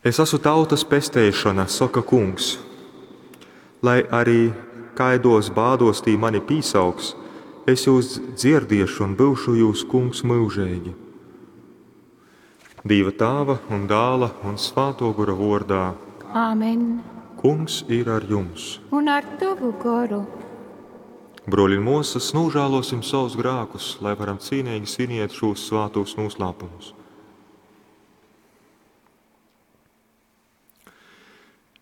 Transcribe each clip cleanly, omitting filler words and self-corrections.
Es asu tautas pesteišona, soka Kungs. Lai ari kaiduos bāduos tī mani pīsauks, es jūs dzierdiešu un byušu jūs Kungs myužeigi. Dīva Tāva un Dāla un Svātuo Gora vuordā. Āmen. Kungs ir ar jums. Un ar tovu goru. Bruoļi un muosys, nožēlosim savus grēkus, lai varam cīnīgi sviniet šos svātos noslēpumus.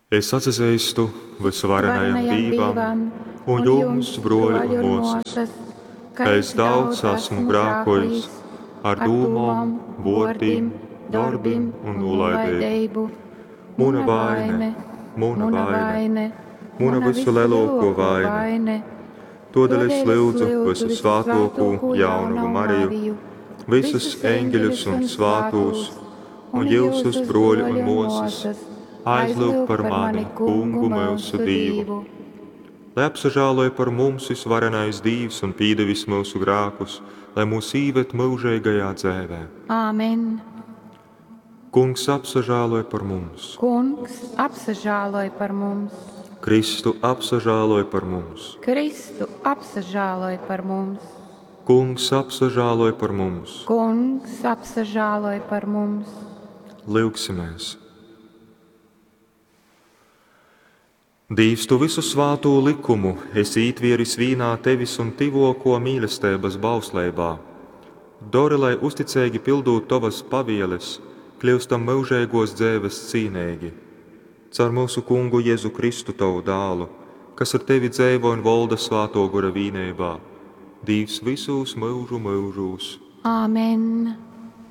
Es atzīstu visvarenajam Varenajam Dīvam un jums, bruoļi un muosys, ka es daudz esmu grēkojis ar dūmom, vārdiem, darbiem un nolaidību. Muna vaine, muna vaine, muna visu lielāko vaine. Todēļ es lūdzu visu svātoko jaunavu Mariju, visus eņģeļus un svātos, un jūsus bruoļi un muosas, aizlūgt par mani, Kungu mūsu Dīvu. Lai apsažāloja par mums visvarenais Dīvs un pīdevis mūsu grēkus, lai mūs īved mūžīgajā dzēvē. Āmen. Kungs apsažāloja par mums. Kungs apsažāloj par mums. Kristu apsažāloj par mums. Kristu apsažāloj par mums. Kungs apsažāloj par mums. Kungs apsažāloj par mums. Lūgsimies! Dīvs, tu visu svātū likumu esi ītvieris vīnā tevis un tivoko mīlestības bausleibā. Dori, lai uzticīgi pildot tovas pavieles, kļūstam mūžīgos dzēves cīnīgi. Caur mūsu kungu Jēzu Kristu, tavu dālu, kas ar tevi dzēvo un volda svāto gora vīnībā, Dīvs visos mūžu mūžos. Āmen.